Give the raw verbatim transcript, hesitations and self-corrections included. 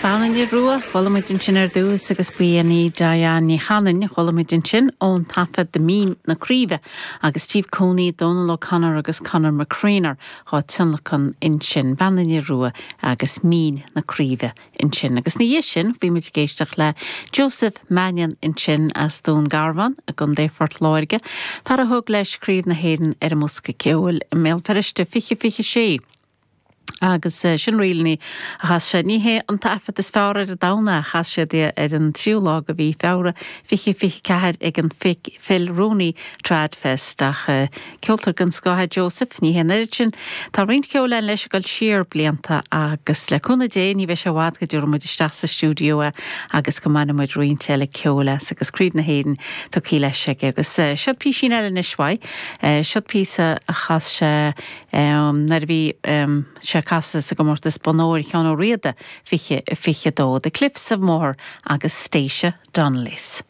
Bean an Fhir Rua, chuala muid ansin ar dtús agus ba í Diane Ní Chanainn, chuala muid ansin ón taifead de Mín na Craoibhe agus Steve Cooney, Donal O'Connor agus Conor McCreanor á tionlacan ansin Bean an Fhir Rua agus Mín na Craoibhe ansin. Agus ina dhiaidh sin bhí muid ag éisteacht le Joseph Mannion ansin as Dún Garbhán i gContae Phort Láirge, fear a thug leis Craobh na hÉireann ar an mbosca ceoil i mBéal Feirste fiche fiche sé. Agus eh, sin ríleanna a chas sé ní hé an taifead is fearr ar domhan a chas sé ar an tríú lá de mhí Feabhra fiche fiche ceathair ag an Phil Rooney Tradfest ach eh, ceoltóir den scoth Joseph ní hé sin Tá roinnt ceoil leis ag dul siar blianta agus le cúnamh Dé ní bheidh sé i bhfad go dtabharfaidh muid isteach sa stiúideo é agus go mbainfidh muid roinnt eile ceoil as agus Craobh na hÉireann tugtha leis aige agus eh, seo píosín eile anois uaidh seo píosa a chas sé nuair a bhí sé ag casadh sa gcomórtas Bonn Óir Sheán Ó Riada fiche fiche dó, The Cliffs of Moher agus Stacia Donnelly's.